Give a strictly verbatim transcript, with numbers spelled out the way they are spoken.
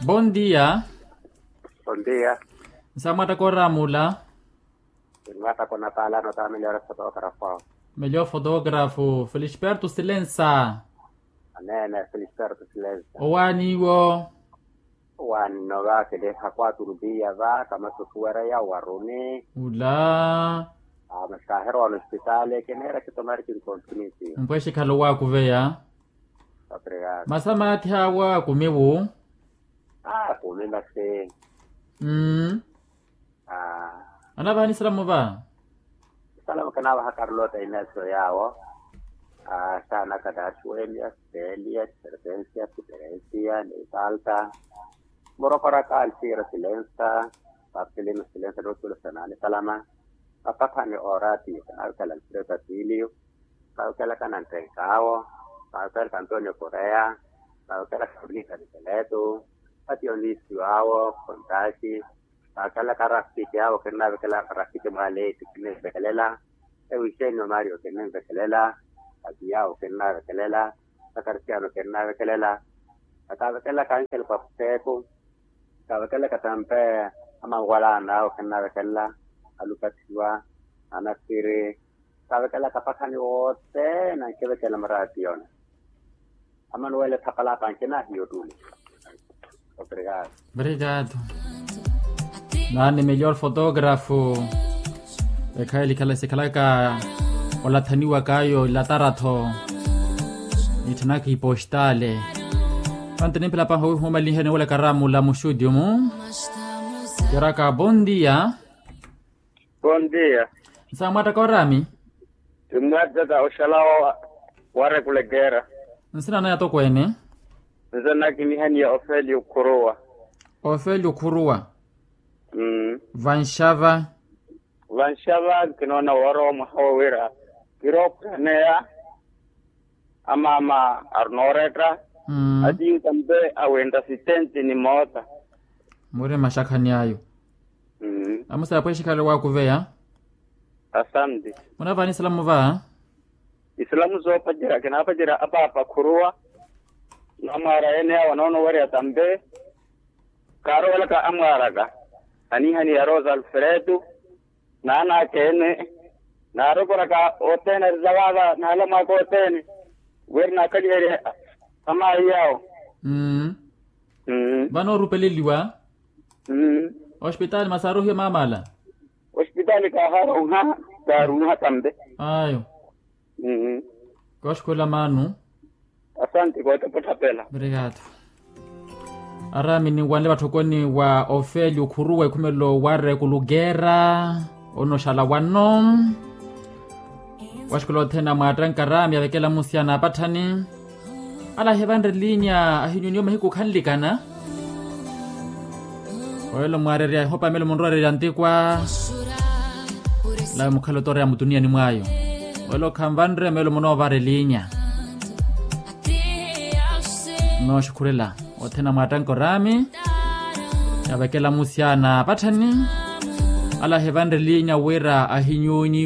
Bondia. Bondia. Nsamwattaka oraamula. Nsamwattaka onapaalana otameliora fotografu awo. Melio fotografu felisperto silensa. Aneene felisperto silensa. Owaaniwo. Owaani nno va keleha kwaturupiya va kamasukuwereya owaruni. Ula. Masi kaahirowa onostitaali kineera kitomari kinkontunisiwa. Mpweshi khalo waakuveya. Masi amaathi awo akumiwu. Akumi masi. Mmm. Anavaha nisalamu va? Nisalamu kinaavaha karlota inesio yaawo. Saanaka daasuwenia stelia tiservensia tiperensia nisalta. Murokoraka alsira silensa. Papsilino silensa nootulosana nisalama. Apakhani oraatiyo kinaavekela alfredo atilio. Kaavekelaka nanttenkaawo. Kaavekelaka antonio korea. Kaavekelaka avilika nikeletu. Atiyo niisiwaawo kontaxi. Kaavekelaka arafiki awo kinnaavekelaka arafiki mwaaleeti kinninvekelela. Ewisenio mario kinninvekelela. Atiyawo kinnaavekelela. Akarisiano kinnaavekelela. Kaavekelaka anxel papuseku. Kaavekelaka tampe amanwalaana awo kinnaavekelela. Alupathiwa. Anasiri. Kaavekelaka apakhani wothene ankivekela maraatiyona. Amanuwele thapalapa ankinahiyo tuli. Obrigado. Naani melhor fotografu. Ekhayi elikhala sikhalaka olathaniwaka ayo ilatara-tho. Nitthanaka ipostale. Pantte nimphela paha owihumalinheni wala karamula muxudiumu. Keraka bondia. Bondia. Nsamwattaka orami. Timmwattaka oxalawa. Warekulekera. Nsina naya tokweene. Nsina naya kinihaniya ofelio khuruwa. Ofelio khuruwa. Vanxava. Vanxava kinoona woorowa mwaha wowira. Kirookuraneya. Amaama arinooretta. Atiyu tampe awintta sitenti ni moota. Muri maxakhani ayo. Amusa apwexikhale waakuveya. Asanti. Munavaha nisalamu va? Isalamu soopacerya kinaapacerya apaapa khuruwa. Namwaara ene awo anoonowerya tampe. Kaaroolaka amwaaraka. Anihaniya rosa alfredo. Naanakeene. Naarokoraka othene ari zawaava naalamwaka othene. Wira naakaliherye. Amaayi awo. Vano orupeleliwa. Ospitaali masi aarohiwe maamala. Ospitaali kaaharonha. Kaaronha tampe. Ayo. Kooxukhula maanu. Asanti kootepothapela. Obrigado. Araami ninwanle vatthokoni wa ofelio khuruwa ekhumelo wa rekulukera. Onoxala wano. Waxukhula othene amwaattanka araami avekela musiyana apatthani. Ala ahivanre linya ahinyuniwe mahiku khanlikana. Oyelo mwaarerya ehopa melo munrowererya ntikwa. Lawe mukhala otoreya mutuniyani mwayo. Oyelo khanvanre melo munoovara elinya. Nooxukhurela othene amwaattanka oraami. Avekela musiyana apatthani. Ala ahivanre elinya wira ahinyunyi.